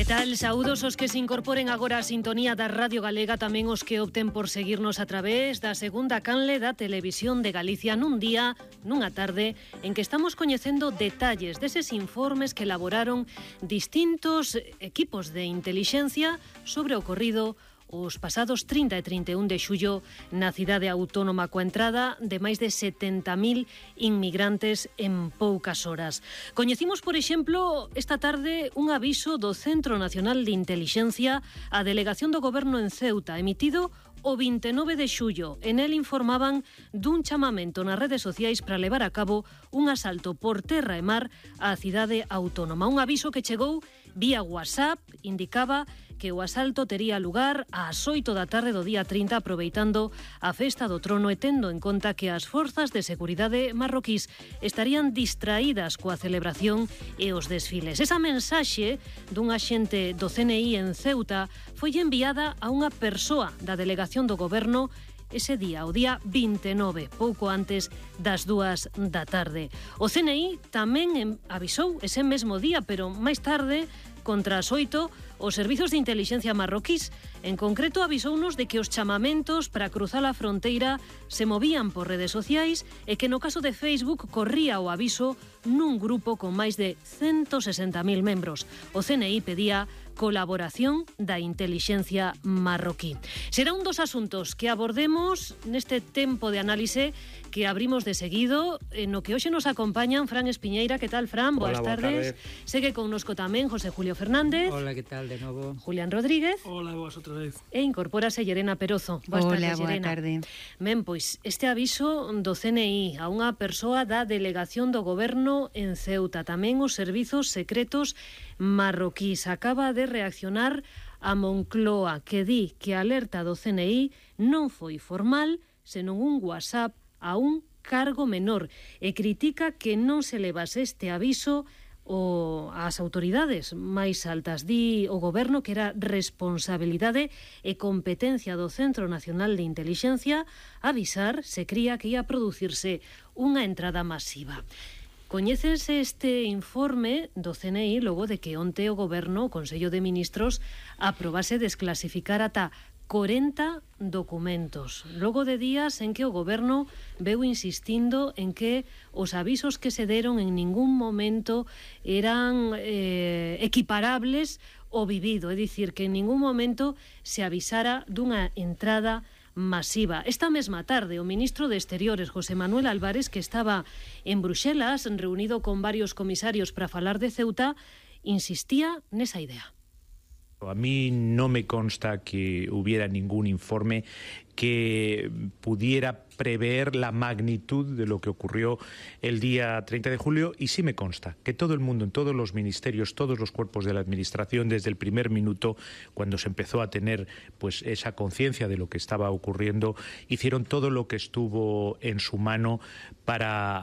Que tal? Saúdos os que se incorporen agora á sintonía da Radio Galega, tamén os que opten por seguirnos a través da segunda canle da Televisión de Galicia nun día, nunha tarde, en que estamos coñecendo detalles deses informes que elaboraron distintos equipos de intelixencia sobre o ocorrido os pasados 30 e 31 de xullo na cidade autónoma coa entrada de máis de 70.000 inmigrantes en poucas horas. Coñecimos, por exemplo, esta tarde un aviso do Centro Nacional de Intelixencia á Delegación do Goberno en Ceuta, emitido o 29 de xullo. En el informaban dun chamamento nas redes sociais para levar a cabo un asalto por terra e mar á cidade autónoma. Un aviso que chegou vía WhatsApp, indicaba que o asalto tería lugar ás 8 da tarde do día 30, aproveitando a festa do trono e tendo en conta que as forzas de seguridade marroquís estarían distraídas coa celebración e os desfiles. Esa mensaxe dun axente do CNI en Ceuta foi enviada a unha persoa da delegación do Goberno ese día, o día 29, pouco antes das 2 da tarde. O CNI tamén avisou ese mesmo día, pero máis tarde, contra as 8, os servizos de intelixencia marroquís. En concreto, avisounos de que os chamamentos para cruzar a fronteira se movían por redes sociais e que no caso de Facebook corría o aviso nun grupo con máis de 160.000 membros. O CNI pedía colaboración da intelixencia marroquí. Será un dos asuntos que abordemos neste tempo de análise que abrimos de seguido, no que hoxe nos acompañan Fran Espiñeira. Que tal, Fran? Boas tardes. Segue connosco tamén José Julio Fernández. Hola, que tal de novo? Julián Rodríguez. Hola, boas outra vez. E incorpórase Llerena Perozo. Boas tardes, Llerena. Boa tarde. Ben, pois, este aviso do CNI a unha persoa da Delegación do Goberno en Ceuta, tamén os servizos secretos marroquís, acaba de reaccionar a Moncloa, que di que a alerta do CNI non foi formal, senón un WhatsApp a un cargo menor, e critica que non se levase este aviso ás autoridades máis altas. Di o Goberno que era responsabilidade e competencia do Centro Nacional de Intelixencia avisar se cría que ia producirse unha entrada masiva. Coñécese este informe do CNI logo de que onte o Goberno, o Consello de Ministros, aprobase desclasificar ata 40 documentos, logo de días en que o Goberno veu insistindo en que os avisos que se deron en ningún momento eran equiparables ao vivido, é dicir, que en ningún momento se avisara dunha entrada masiva. Esta mesma tarde, o ministro de Exteriores, José Manuel Álvarez, que estaba en Bruxelas, reunido con varios comisarios para falar de Ceuta, insistía nesa idea. A mí no me consta que hubiera ningún informe que pudiera prever la magnitud de lo que ocurrió el día 30 de julio, y sí me consta que todo el mundo, en todos los ministerios, todos los cuerpos de la administración, desde el primer minuto, cuando se empezó a tener pues esa conciencia de lo que estaba ocurriendo, hicieron todo lo que estuvo en su mano para